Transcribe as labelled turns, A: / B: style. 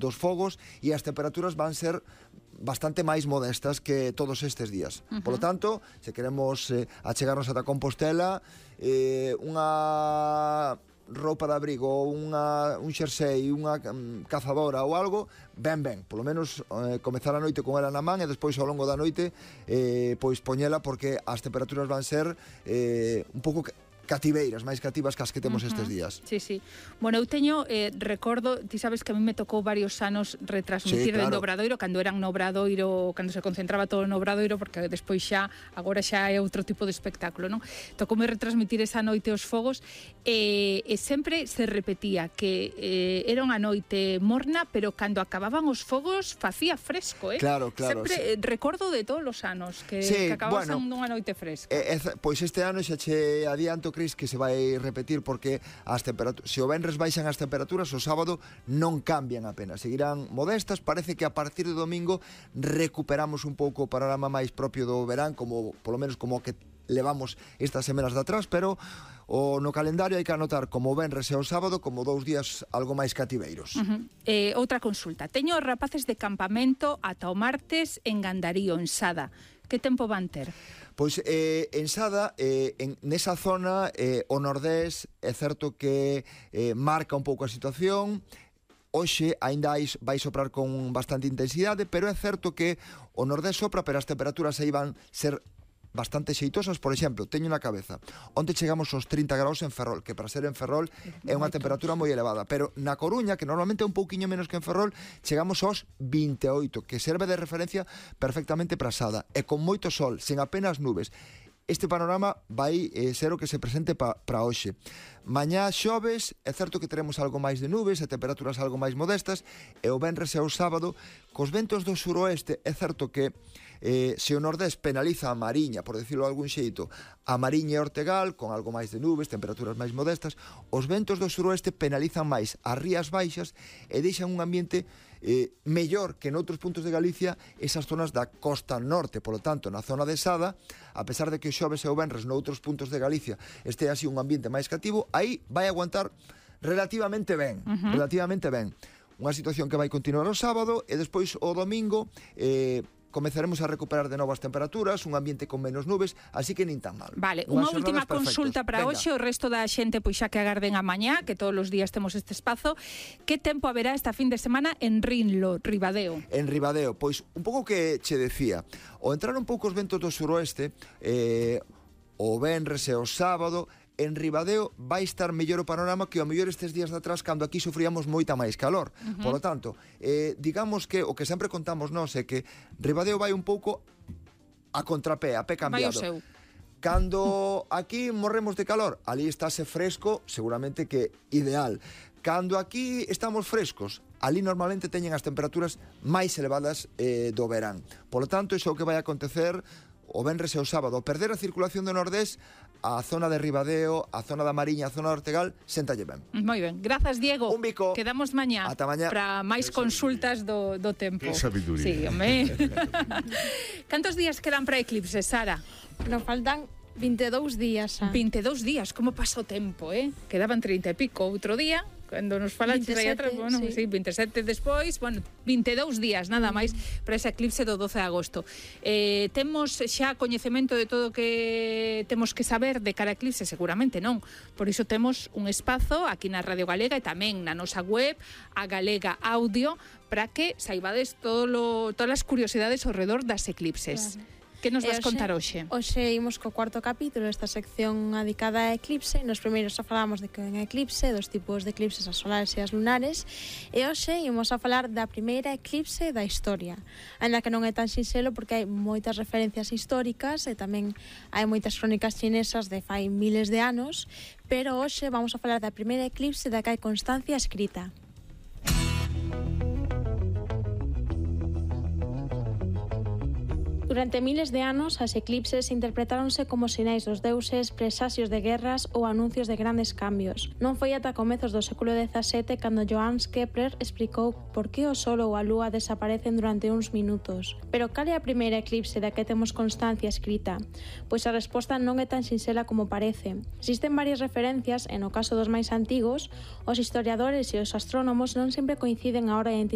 A: dos fogos e as temperaturas van ser bastante máis modestas que todos estes días. Polo tanto, se queremos achegarnos ata Compostela, unha roupa de abrigo, un xersei, unha cazadora ou algo, ben, polo menos comezar a noite con ela na man e despois ao longo da noite pois poñela, porque as temperaturas van ser un pouco cativeiras, máis cativas que as que temos estes días.
B: Sí. Bueno, eu teño, recordo, ti sabes que a mí me tocou varios anos retransmitir dentro do Obradoiro, cando eran no Obradoiro, cando se concentraba todo no Obradoiro, porque despois xa, agora xa é outro tipo de espectáculo, non? Tocoume retransmitir esa noite os fogos, e sempre se repetía que era unha noite morna, pero cando acababan os fogos facía fresco,
A: Claro.
B: Sempre recordo de todos os anos que acababan sendo unha noite fresca.
A: Pois este ano xa che adianto, Cris, que se vai repetir, porque se o venres baixan as temperaturas, o sábado non cambian apenas, seguirán modestas. Parece que a partir do domingo recuperamos un pouco o panorama máis propio do verán, como polo menos como que levamos estas semanas de atrás, pero no calendario hai que anotar como o venres e o sábado como 2 días algo máis cativeiros.
B: Outra consulta. Teño os rapaces de campamento ata o martes en Gandarío, en Sada. Que tempo van ter?
A: Pois en Sada, nesa zona, o nordés é certo que marca un pouco a situación. Hoxe aínda vai soprar con bastante intensidade, pero é certo que o nordés sopra, pero as temperaturas aí van ser bastante xeitosas. Por exemplo, teño na cabeza, onde chegamos aos 30 graus en Ferrol, que para ser en Ferrol é unha temperatura moi elevada, pero na Coruña, que normalmente é un pouquiño menos que en Ferrol, chegamos aos 28, que serve de referencia perfectamente para Sada, e con moito sol, sen apenas nubes. Este panorama vai ser o que se presente para hoxe. Mañá xoves, é certo que teremos algo máis de nubes e temperaturas algo máis modestas, e o venres e o sábado, cos ventos do suroeste, é certo que se o nordés penaliza a Mariña, por decirlo de algún xeito, a Mariña e Ortegal, con algo máis de nubes, temperaturas máis modestas, os ventos do suroeste penalizan máis as rías baixas e deixan un ambiente mellor que noutros puntos de Galicia, esas zonas da costa norte. Polo tanto, na zona de Sada, a pesar de que o xoves e o venres noutros puntos de Galicia este así un ambiente máis cativo, aí vai aguantar relativamente ben. Unha situación que vai continuar o sábado, e despois o domingo comezaremos a recuperar de novo as temperaturas, un ambiente con menos nubes, así que nin tan mal.
B: Vale, unha última consulta para hoxe, o resto da xente pois xa que agarden a mañá, que todos os días temos este espazo. Que tempo haberá esta fin de semana en Rinlo, Ribadeo?
A: En Ribadeo, pois un pouco que che decía, o entrar un pouco os ventos do suroeste, o venres e o sábado, en Ribadeo vai estar mellor o panorama que o mellor estes días de atrás, cando aquí sufríamos moita máis calor. Por lo tanto, digamos que o que sempre contamos nós é que Ribadeo vai un pouco a contrapé, a pé cambiado.
B: Vai o seu.
A: Cando aquí morremos de calor, ali estáse fresco, seguramente que ideal. Cando aquí estamos frescos, ali normalmente teñen as temperaturas máis elevadas do verán. Por lo tanto, iso é o que vai acontecer o venres e o sábado. Perder a circulación do nordés, a zona de Ribadeo, a zona da Mariña, a zona de Ortegal, séntalle ben.
B: Moi ben, grazas, Diego.
A: Un bico.
B: Quedamos mañá.
A: Ata mañá.
B: Para máis consultas do tempo.
C: Que sabiduría.
B: Sí, home. Cantos días quedan para eclipse, Sara?
D: Nos faltan 22 días.
B: 22 días, como pasa o tempo, Quedaban 30 e pico outro día, cando nos falaste aí atrás, bueno, sí, 27 despois, bueno, 22 días, nada máis, para ese eclipse do 12 de agosto. Temos xa coñecemento de todo o que temos que saber de cara a eclipse? Seguramente non. Por iso temos un espazo aquí na Radio Galega e tamén na nosa web, a Galega Audio, para que saibades todas as curiosidades ao redor das eclipses. Claro. Que nos vas contar hoxe?
D: Hoxe imos co cuarto capítulo desta sección dedicada a eclipse. Nos primeiros xa falamos de que é un eclipse, dos tipos de eclipses, as solares e as lunares, e hoxe imos a falar da primeira eclipse da historia, ainda que non é tan sinxelo porque hai moitas referencias históricas e tamén hai moitas crónicas chinesas de fai miles de anos, pero hoxe vamos a falar da primeira eclipse da que hai constancia escrita. Durante miles de anos, as eclipses interpretáronse como sinais dos deuses, presaxios de guerras ou anuncios de grandes cambios. Non foi ata comezos do século XVII cando Johannes Kepler explicou por que o Sol ou a Lúa desaparecen durante uns minutos. Pero cal é a primeira eclipse da que temos constancia escrita? Pois a resposta non é tan sinxela como parece. Existen varias referencias e no caso dos máis antigos, os historiadores e os astrónomos non sempre coinciden a hora de